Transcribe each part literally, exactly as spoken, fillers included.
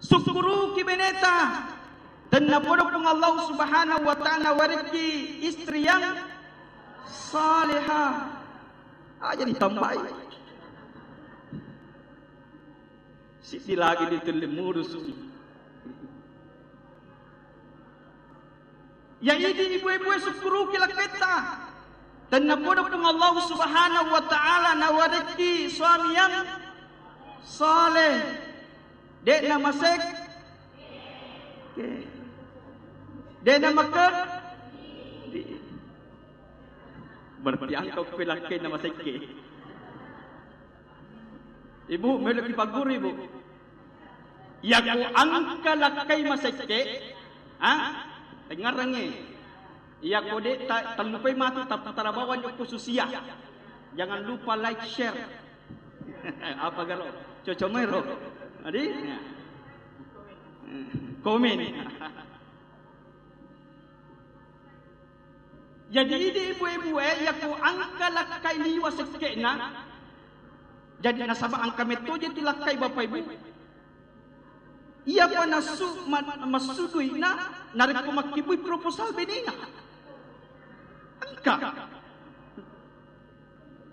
Sukkuruki beneta. Tennapodo Puang Allah Subhanahu wa Ta'ala warekki istri yang saleha. Aja ditambai. Siddi lagi ditelli murusu. Ya idi ibu-ibu e sukkuruki lakketta. Tennapodo Puang Allah Subhanahu wa Ta'ala nawarekki suami yang saleh. De'na masek. Oke. De'na maket. Berarti engka uppe lakkainna masekke. Ibu, melo kipagguru, Ibu. Yako engka lakkai masekke, ha? Dengarengngi. Yako de ta-, tallupai matu, tapi tarabawa jokko susia. Jangan lupa like, share. Apa garo? Cocok mero. Adi? Ya. Komen. Jadi idi ibu-ibu e, yako engka lakkai liwa sekke'na. Jadi nasaba engka mettoje tu lakkai bapak ibu. Iyapa nasu-, ma-, massuduina narekko makkibui proposal benena. Engka.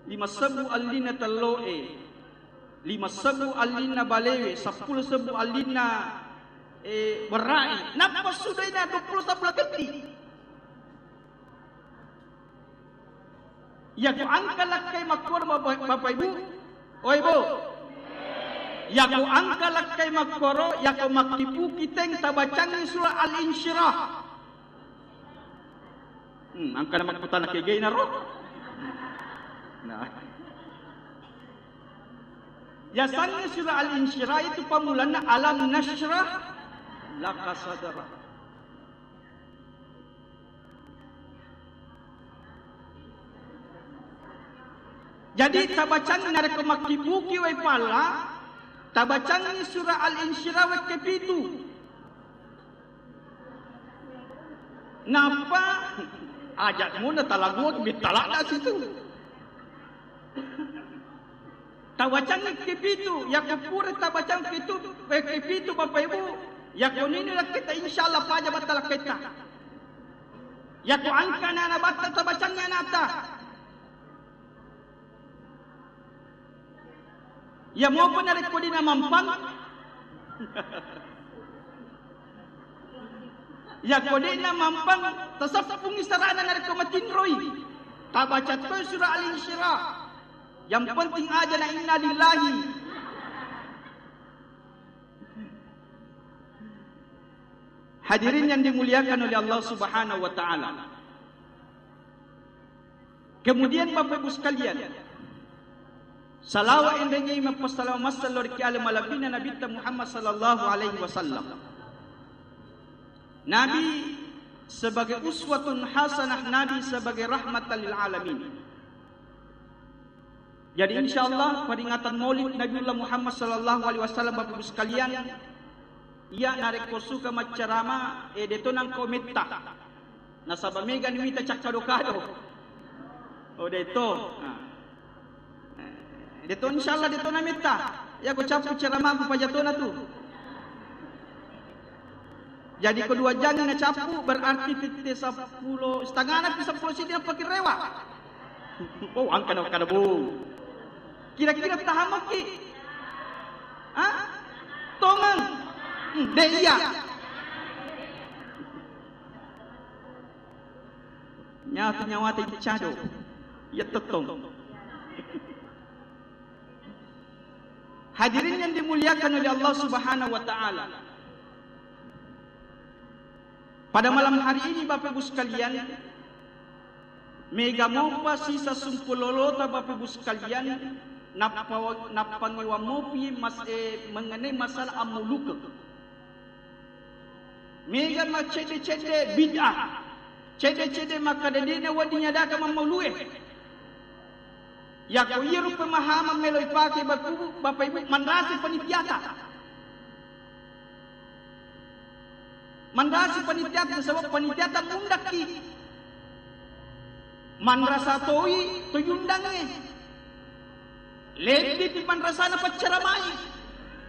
Lima sebbu allinna tello'e, lima sebbu allinna balewe, seppulo sebbu allinna, eh, berra'i. Nappa sudaina dua puluh sebbu laketti. Yako engka lakkai makkoro, Bapak, Bapak Ibu? Oi, Bu. Yako engka lakkai makkoro, yako makkibuki teng tabacangngi surah Al-Insyirah. Hmm, engka na makkutana kegaina ro. Nah. Yasengnge surah Al-Insyirah itu pammulanna alam nasyrah laka sadrak. Jadi tabacangngi narekko makkibuki wai palla, tabacangngi surah Al-Insyirah wekke pitu. Nappa aja'mu natalaguang bittala'na situ. Tabacangngi kepitu, yako pura tabacang pitu, eh, kepitu Bapak Ibu, yako nini lakketta insyaallah paja batta lakketta. Yako engka ana batta tabacangngi anata. Iya mopa narekko de'na mampang. Yako de'na mampang, taseppungi sarana narekko matinroi. Tabaca toi surah Al-Insyirah. Yang penting aja na inna lillahi. Hadirin yang dimuliakan oleh Allah Subhanahu wa Ta'ala. Kemudian, Bapak Ibu sekalian, salawa enrengngi mappassalama massalo ri ki ale malebbina Nabitta Muhammad sallallahu alaihi wasallam. Nabi sebagai uswatun hasanah, Nabi sebagai rahmatan lil alamin. Jadi, insyaallah, peringatan Maulid Nabiullah Muhammad sallallahu alaihi wasallam, Bapak Ibu sekalian, iya narekko suka maccarama, eh, deto nangko metta. Nasaba mega ni wita cakkado-kado. Oh, deto. Nah. Eh, deto, insyaallah, deto na metta. Iya ko cappu ceramaku pajatona tu. Jadi ko dua jang na cappu, berarti tette seppulo, setengana pi seppulo siddi nappa kirewa. Oh, engka na kada, Bu. Kira-kira tahammaki? Ha? Tongeng. Hmm, de iya. Nyatu nyawata icado. Iya tettong. Hadirin yang dimuliakan oleh Allah Subhanahu wa Ta'ala. Pada malam hari ini, Bapak Ibu sekalian, mega mopa sisa sumpulolota, Bapak Ibu sekalian, nappa-, nappangewang mopi mas-, eh, mengenai masalah ammulukeng. Mega maccedde-cedde bid'ah, cedde-cedde makkada de'na wedding nyadaka mammaulue. Yako iyaro pemahaman melo ipake, Bapak Ibu, Bapak Ibu, manrasi panitiata. Manrasi panitiata, sebab panitiata mundakki. Manrasa toi to yundangnge. Lebbi pi manrasana paccaramai.